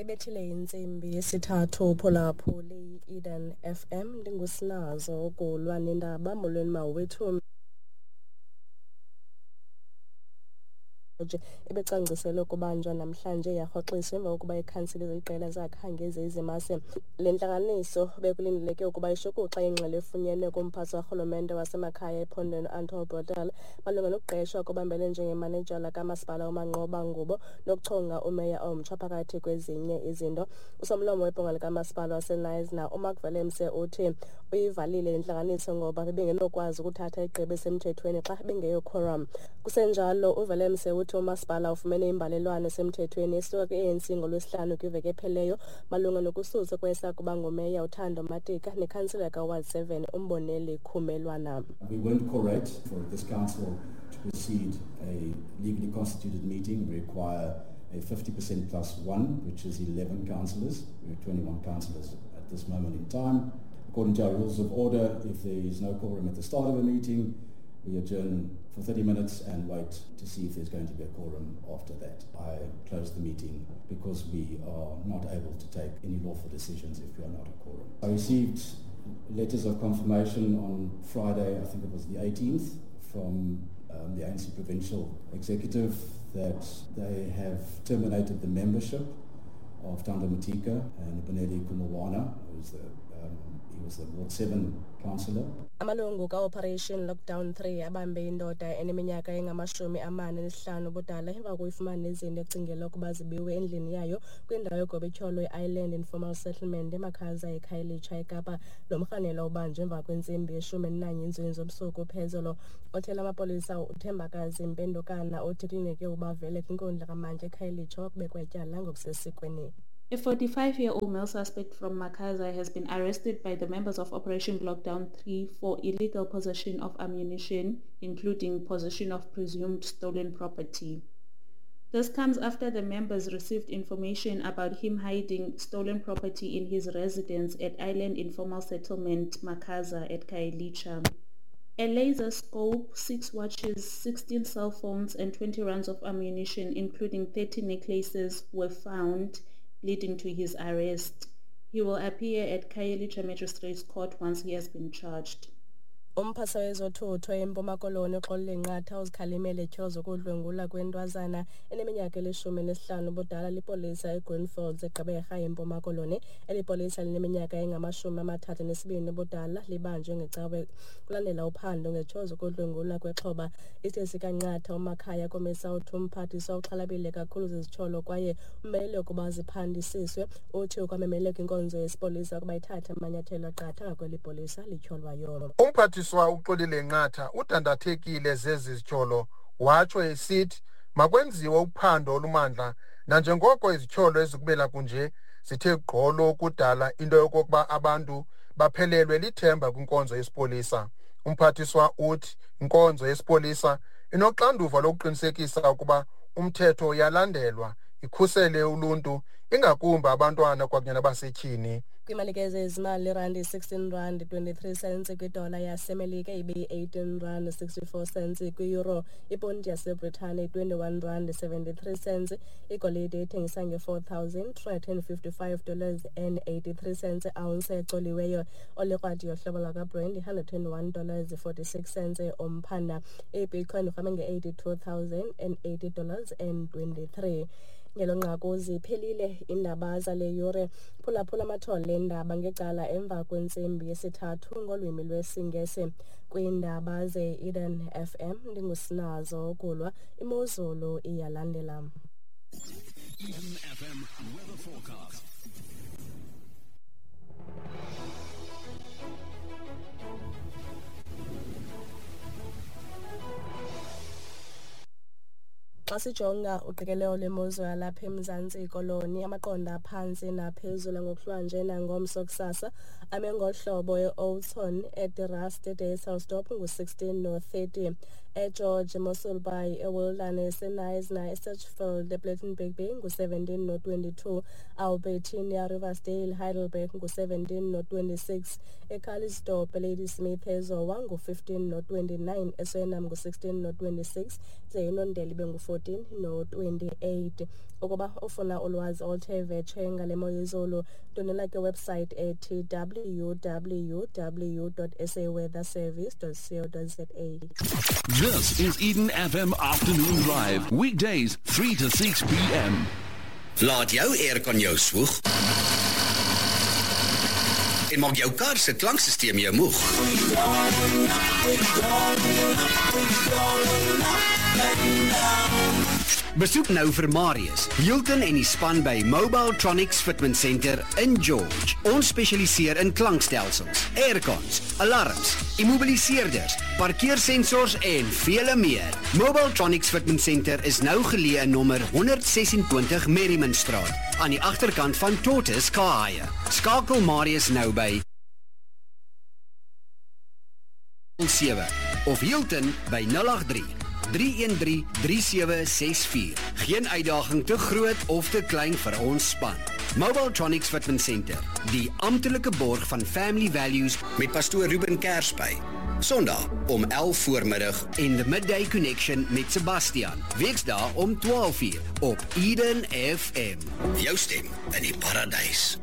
Ibethile intsimbi yesithathu phulaphuli i-Eden FM, ndingusinazo ukulwa nendaba. Molweni mawethu. Ebecwangciselwe ukubanjwa namhlanje yarhoxiswa emva kokuba ikhansile zeliqela zakhange ziyizimase. Le ntlanganiso bekulindeleke ukuba ishukuxe ingxelo efunyenwe kumphathi warhulumente wasemakhaya ephondweni uAnton Brodel malunga nokuqeshwa kobambele njengemanejala kamasipala uManqoba Ngubo nokuchonga umeya omtsha phakathi kwezinye izinto. Usomlomo webhunga likamasipala waseKnysna uMark Willemse uthi uyivalile le ntlanganiso ngoba bebengenokwazi ukuthatha igqibo esemthethweni xa bengeyo quorum. Kusenjalo, uWillemse uthi umasipala ufumene imbalelwano esemthethweni esuka kwi-ANC ngoLwesihlanu kwiveki ephelileyo malunga nokususwa kwesakuba ngumeya uThando Matika nekhansila kaWard 7 uMboneli Khumelwana. We weren't correct for this council to proceed a legally constituted meeting. We require a 50% plus one, which is 11 councillors. We have 21 councillors at this moment in time. According to our rules of order, if there is no quorum at the start of a meeting, we adjourn for 30 minutes and wait to see if there's going to be a quorum after that. I close the meeting because we are not able to take any lawful decisions if we are not a quorum. I received letters of confirmation on Friday, I think it was the 18th, from the ANC Provincial Executive that they have terminated the membership of Thando Matika and Bonelli Khumulwana, who's he was the Ward 7 councillor. Amalungu ka-Operation Lockdown 3 abambe indoda eneminyaka engama-45 ubudala emva kokuyifumana izinto ecingelwa ukuba zibiwe endlini yayo kwindawo yogobityholo i-Island Informal Settlement eMakhaza eKhayelitsha eKapa. Lo mrhanelwa ubanjwe emva kwentsimbi ye-11 intsweni zobusuku phezolo. Othela amapolisa uThembakazi Mpendukana uthi kulindeleke ukuba avele kwinkundla kamantyi eKhayelitsha wakubekwa ityala ngokusesikweni. A 45-year-old male suspect from Makhaza has been arrested by the members of Operation Lockdown 3 for illegal possession of ammunition, including possession of presumed stolen property. This comes after the members received information about him hiding stolen property in his residence at Island Informal Settlement, Makhaza at Khayelitsha. A laser scope, 6 watches, 16 cell phones and 20 rounds of ammunition, including 30 necklaces, were found, leading to his arrest. He will appear at Khayelitsha Magistrates Court once he has been charged. Umphathiswa wezothutho eMpuma Koloni uXolile Nqatha uzikhalimele ityholo zokudlwengula kwentwazana eneminyaka eli-15 ubudala lipolisa eGreenfields eGqeberha eMpuma Koloni. Eli polisa lineminyaka engama-32 ubudala libanjwe ngecawe kulandela uphando ngetyholo zokudlwengula kwexhoba. Isithethi sikaNqatha uMakhaya Komisa uthi umphathiswa uxhalabile kakhulu zizityholo kwaye umele ukuba ziphandisiswe. Uthi ukwamemele kwinkonzo yesipolisa ukuba ithathe amanyathelo aqatha ngakweli polisa lityholwayo. Umphathiswa uXolile Nqatha udandathekile zezi zityholo, watsho esithi makwenziwe uphando olumandla nanjengoko izityholo ezikubela kunje zithe gqolo ukudala into yokokuba abantu baphelelwe lithemba kwinkonzo yesipolisa. Umphathiswa uthi inkonzo yesipolisa inoxanduva lokuqinisekisa ukuba umthetho uyalandelwa, ikhusele uluntu, ingakumbi abantwana kwakunye nabasetyhini. Kwimalike zezimali, irandi 16 rand 23 cents kwidola yaseMelika, ibe-18 rand 64 cents kwi-euro, iponti yaseBritane 21 rand 73 cents, igolide ithengisa nge-$4,355 dollars and 83 cents ounce ecoliweyo, olikrwadi yohlobo lwakwaBrent $121 dollars 46 cents umphanda, ibitcoin irhwame nge-$82,080 dollars and 23. Ngelo nqaku ziphelile iindaba zale yure. Phulaphula amathole eendaba ngecala emva kwentsimbi yesithathu ngolwimi lwesiNgesi. Kwiindaba ze-Eden FM ndingusinazo Gulwa. Imozulu iyalandela. Eden FM weather forecast. Xa sijonga uqikelelo lwemozulu yalapha eMzantsi Koloni, amaqondo aphantsi naphezulu ngokuhlwanje nangomso kusasa ame ngohlobo: e-Oudtshoorn, eDe-Rust, eDysselsdorp ngu-16 no-30, eGeorge, Mossel Bay, eWilderness, eKnysna, eSedgefield, ePlettenberg Bay ngu-17 no-22, Albertinia, Riversdale, Heidelberg ngu-17 no-26, eCalitzdorp, Ladysmith, eZowa ngu-15 no-29, eSuriname ngu-16 no-26, ze iNondeli ibe ngu-14 no-28. Ukuba ufuna ulwazi oluthe vetshe ngale mo yezulu, ndwendwela kwiwebsite ethi www.saweatherservice.co.za. This is Eden FM Afternoon Drive. Weekdays 3 to 6 p.m. Laat jou aircon jou swoeg en maak jou kar se klanksysteem jou moeg. Besoek nou vir Marius, Hilton en die span by Mobiletronics Fitment Center in George. Ons spesialiseer in klankstelsels, aircons, alarms, immobiliseerders, parkeersensors en vele meer. Mobiletronics Fitment Center is nou geleë in nommer 126 Merriman Straat, aan die agterkant van Tortoise Kahaie. Skakel Marius nou by 07 of Hilton by 083 313 3764. Geen uitdaging te groot of te klein vir ons span. Mobiletronics Fitment Center, die amptelike borg van Family Values met pastoor Ruben Kersby. Sondag om 11 voormiddag en The Midday Connection met Sebastian. Weksdae om 12 uur op Eden FM. Jou stem in die paradys.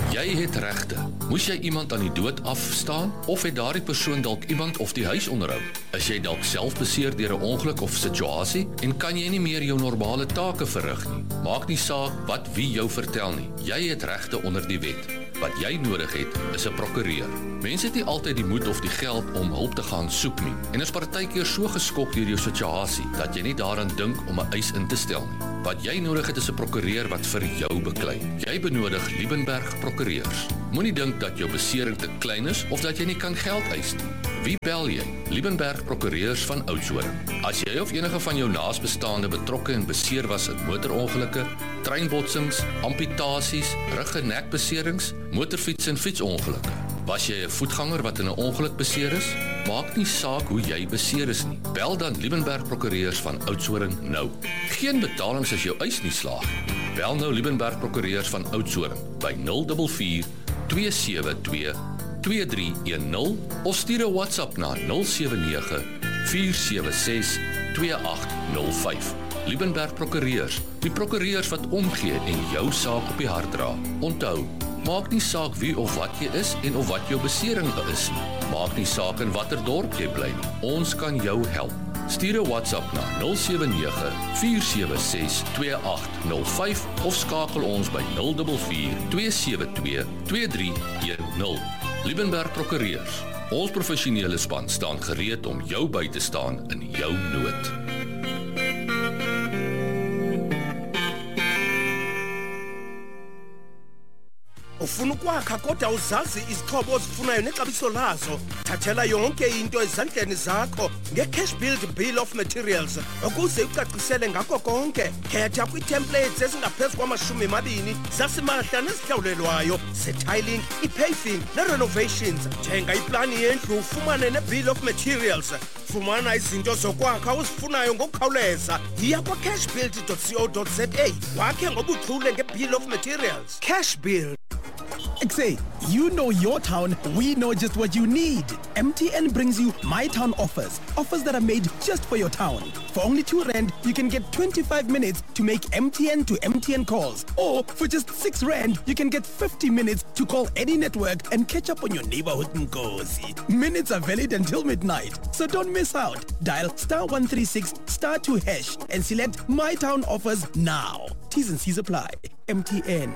Jy het regte. Moes jy iemand aan die dood afstaan of het daardie persoon dalk iemand of die huis onderhou? Is jy dalk self beseer deur 'n ongeluk of situasie en kan jy nie meer jou normale take verrig nie? Maak nie saak wat wie jou vertel nie. Jy het regte onder die wet. Wat jy nodig het, is 'n prokureur. Mense het nie altyd die moed of die geld om hulp te gaan soek nie en is partykeer so geskok deur jou situasie dat jy nie daaraan dink om 'n eis in te stel nie. Wat jy nodig het, is 'n prokureur wat vir jou beklei. Jy benodig Liebenberg Prokureurs. Moenie dink dat jou besering te klein is of dat jy nie kan geld eis nie. Wie bel jy? Liebenberg Prokureurs van Oudtshoorn. As jy of enige van jou naasbestaande betrokke en beseer was in motorongelukke, treinbotsings, amputasies, rug- en nekbeserings, motorfiets- en fietsongelukke. Was jy 'n voetganger wat in 'n ongeluk beseer is? Maak nie saak hoe jy beseer is nie. Bel dan Liebenberg Prokureurs van Oudtshoorn nou. Geen betalings as jou eis nie slaag nie. Bel nou Liebenberg Prokureurs van Oudtshoorn by 044 272 2310 of stuur 'n WhatsApp na 079 476 2805. Liebenberg Prokureurs, die prokureurs wat omgee en jou saak op die hart dra. Onthou, maak nie saak wie of wat jy is en of wat jou besering is nie. Maak nie saak in watter dorp jy bly nie. Ons kan jou help. Stuur 'n WhatsApp na 079 476 2805 of skakel ons by 044 272 2310. Liebenberg Prokureurs. Ons professionele span staan gereed om jou by te staan in jou nood. Ufuna ukwakha kodwa uzazi izixhobo ozifunayo nexabiso lazo. Thathela yonke into ezandleni zakho nge-Cash Build Bill of Materials ukuze ucacisele ngakho konke. Khetha kwii-templates ezingaphezu kwama-20 zasimahla nezihlawulelwayo ze-tiling, i-paving ne-renovations. Thenga iplani yendlu ufumane ne-Bill of Materials. Fumana izinto zokwakha ozifunayo ngokukhawuleza. Yiya kwa-cashbuild.co.za wakhe ngobuchule nge-Bill of Materials. Cash Build. Say, you know your town, we know just what you need. MTN brings you My Town offers, offers that are made just for your town. For only 2 rand, you can get 25 minutes to make MTN to MTN calls. Or for just 6 rand, you can get 50 minutes to call any network and catch up on your neighborhood nkosi. Minutes are valid until midnight, so don't miss out. Dial *136 *2# and select My Town offers now. T's and C's apply. MTN.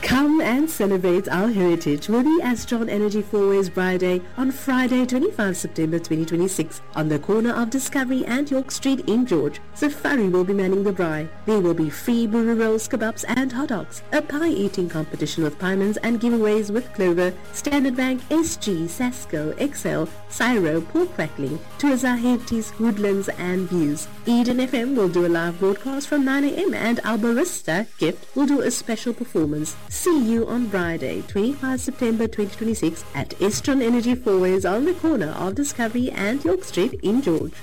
Come and celebrate our heritage with the Astron Energy Fourways Braai Day on Friday, 25 September 2026 on the corner of Discovery and York Street in George. Safari will be manning the braai. There will be free burger rolls, kebabs and hot dogs, a pie eating competition with piemans and giveaways with Clover, Standard Bank, SG, Sasco, XL, Cyro, Pork Crackling, Tuaza Hefties, Woodlands and Views. Eden FM will do a live broadcast from 9 a.m. and our barista, Gift, will do a special performance. See you on Friday, 25 September 2026 at Estron Energy Fourways on the corner of Discovery and York Street in George.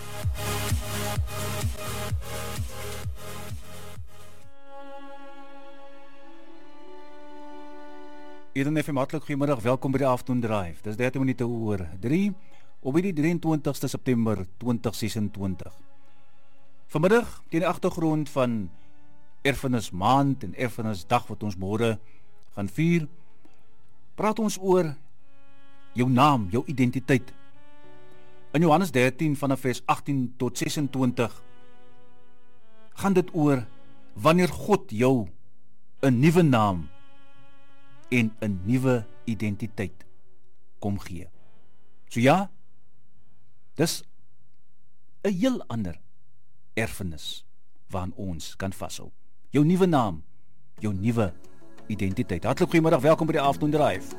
Eden FM, hartlik goeiemiddag. Welkom by die Afternoon Drive. Dis 13 minute oor 3 op hierdie 23ste September 2026. Vanmiddag teen die agtergrond van Erfenismaand en Erfenisdag wat ons môre gaan vier, praat ons oor jou naam, jou identiteit. In Johannes 13 vanaf vers 18 tot 26 gaan dit oor wanneer God jou 'n nuwe naam en 'n nuwe identiteit kom gee. So ja, dis 'n heel ander erfenis waaraan ons kan vashou. Jou nuwe naam, jou nuwe identiteit. Hartlik goeiemiddag, welkom by die Afternoon Drive.